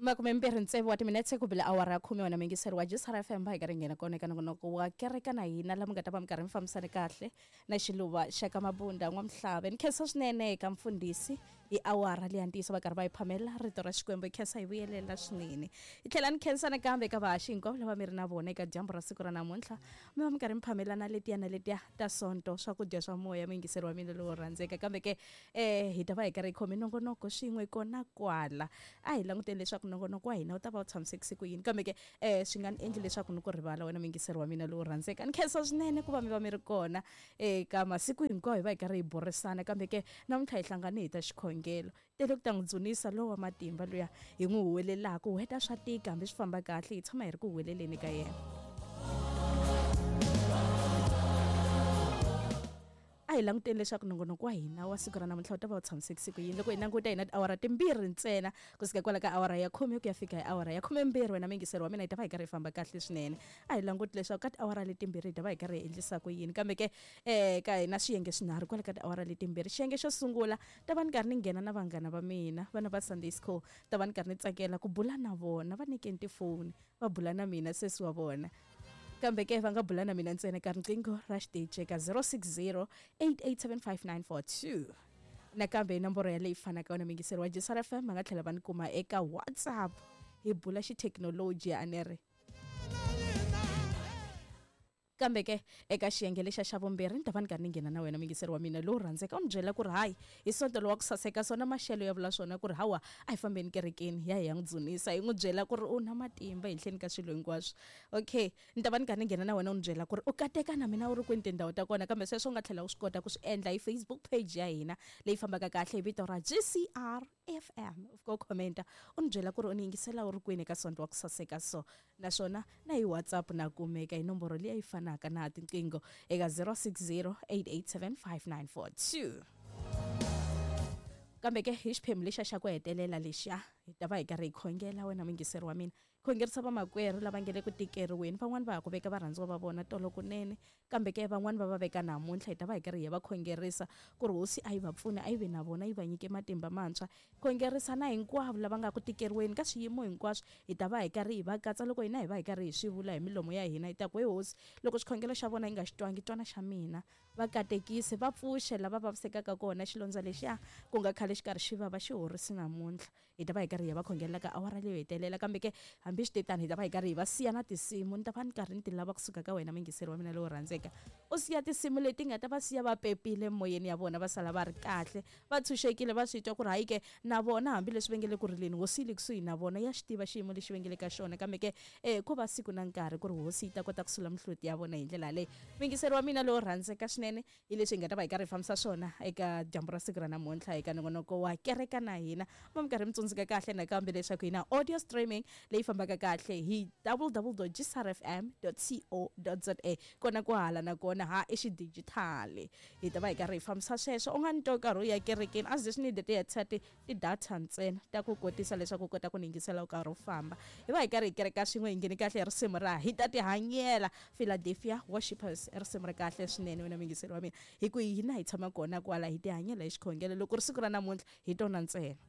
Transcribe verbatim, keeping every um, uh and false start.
Makume mbirhi ntsevu wa timinetse ku bile awara ya khume wena mingiseri wa G C R F M va hi karhi nghena kona eka nongonoko wa kereka na hina laha mi nga ta va mi karhi mi fambisane kahle na xiluva xa ka Mabunda N'wamhlave. Ni khensa swinene eka mfundhisi hi awara leya ntiyiso va karhi va yi phamela rito ra Xikwembu, hi khensa hi vuyelela swinene. Hi tlhela ni khensa nakambe eka vahaxi hinkwavo lava mi ri na vona eka dyambu ra siku ra namuntlha, mi va mi karhi mi phamelana letiya na letiya ta sonto swakudya swa moya muyingiseri wa mina lowo rhandzeka. Kambe ke eh hi ta va hi karhi hi khome nongonoko swin'we kona kwala, a hi languteni leswaku nongonoko wa hina wu ta va wu tshamisekise ku yini. Kambe ke eh swi nga ni endli leswaku ni ku rivala wena muyingiseri wa mina lowo rhandzeka. Ni khensa swinene ku va mi va mi ri kona eka masiku hinkwawo hi va hi karhi hi burisana. Kambe ke namuntlha hi hlangane hi ta xikhongelo tele ku ta n'wi dzunisa lowa matimba luya hi n'wi huwelelaka, u heta swa tika hambi swi famba kahle hi tshama hi ri ku huweleleni ka yena. A hi languteni leswaku nongonoko wa hina wa siku ra namuntlha wu ta va wu tshamisekise ku yini. Loko hi languta hina tiawara timbirhi ntsena kusuka kwala ka awara ya khume ku ya fika hi awara ya khumembirhi, wena muyingiseri wa mina hi ta va hi karhi hi famba kahle swinene. A hi languti leswaku ka tiawara letimbirhi hi ta va hi karhi hi endlisa ku yini. Kambe ke eh ka hina swiyenge swinharhu kwala ka tiawara letimbirhi. Xiyenge xo sungula ta va ni karhi ni nghena na vanghana va mina vana va Sunday school, ta va ni karhi ni tsakela ku bula na vona, va nyikeni tifoni va bula na mina sesi wa vona. Kambe ke va nga bula na mina ntsena ka riqingho ra xiteji ka zero six zero eight eight seven five nine four two. Nakambe nomboro ya leyi fanaka wena muyingiseri wa G C R F M va nga tlhela va ni kuma eka WhatsApp hi bula xithekinoloji a ni ri. Kambe ke eka xiyenge lexa xa vumbirhi ni ta va ni karhi ni nghena na wena muyingiseri wa mina lowu rhandzeka, u ni byela ku ri hayi hi sonto lowa ku saseka swona maxelo ya vula swona ku ri hawa a hi fambeni kerekeni ya hi ya n'wi dzunisa, hi n'wi byela ku ri u na matimba henhleni ka swilo hinkwaswo. Okay, ni ta va ni karhi ni nghena na wena u ni byela ku ri u kateka na mina u ri kwini tindhawu ta kona, kambe sweswo u nga tlhela u swi kota ku swi endla hi Facebook page ya hina leyi fambaka kahle hi vito ra G C R F M. U fika u commenta u ni byela ku ri u ni yingisela u ri kwini eka sonto wa ku saseka so, naswona na hi WhatsApp na kumeka hi nomboro leyi fanaka na tinqingho eka zero six zero eight eight seven five nine four two. Kambe ke hi xiphemu lexa xa ku hetelela lexiya hi ta va hi karhi hi khongela wena muyingiseri wa mina, khongerisa vamakwerhu lava nge le ku tikeriweni, van'wani va ha ku veka varhandziwa va vona tolo kunene, kambe ke van'wani va va veka namuntlha. Hi ta va hi karhi hi va khongerisa ku ri hosi a yi va pfune, a yi ve na vona, yi va nyike matimba mantshwa. Khongerisa na hinkwavo lava nga ku tikeriweni ka swiyimo hinkwaswo, hi ta va hi karhi hi va katsa loko hina hi va hi karhi hi swi vula hi milomo ya hina. Hi ta ku he hosi, loko xikhongelo xa vona yi nga xi twangi, twana xa mina, va katekise, va pfuxe lava vavisekaka kona, xilondza lexiya ku nga khale xi karhi xi vava xi horisi namuntlha. Hi ta va hi karhi hi va khongelela ka awara leyo hetelela. Kambe ke hambi swi te tani hi ta va hi karhi hi va siya na tinsimu. Ni ta va ni karhi ni ti lava kusuka ka wena muyingiseri wa mina lowo rhandzeka, u siya tinsimu leti nga ta va siya va pepile moyeni ya vona, va sala va ri kahle, va tshunxekile, va swi twa ku ri hayi ke na vona hambileswi va nge le ku rileni, hosi yi le kusuhi na vona, ya xi tiva xiyimo lexi va nge le ka xona. Kambe ke eh ko va siku na nkarhi ku ri hosi yi ta kota ku sula mihloti ya vona hi ndlela leyi. Muyingiseri wa mina lowo rhandzeka swinene, hi leswi hi nga ta va hi karhi hi fambisa swona eka dyambu ra siku ra namuntlha eka nongonoko wa kereka na hina. Va mi karhi mi tsundzuka kahle nakambe leswaku hi na audio streaming leyi fambaka kahle hi w w w dot g c r f m dot co dot z a, kona ku hala nakona ha i xidijitali. Hi ta va hi karhi hi fambisa sweswo. U nga ni twa nkarhi u ya kerekeni a ze swi need ti-headset ti-data ntsena ta ku kotisa leswaku u kota ku ni yingisela u karhi u famba. Hi va hi karhi hi kereka swin'we, hi ngheni kahle hi risimu ra hi ta tihanyela Philadelphia Worshipers, i risimu ra kahle swinene wena muyingiseri wa mina, hi ku hina hi tshama kona kwala hi tihanyela hi xikhongelo. Loko ri siku ra namuntlha hi tona ntsena.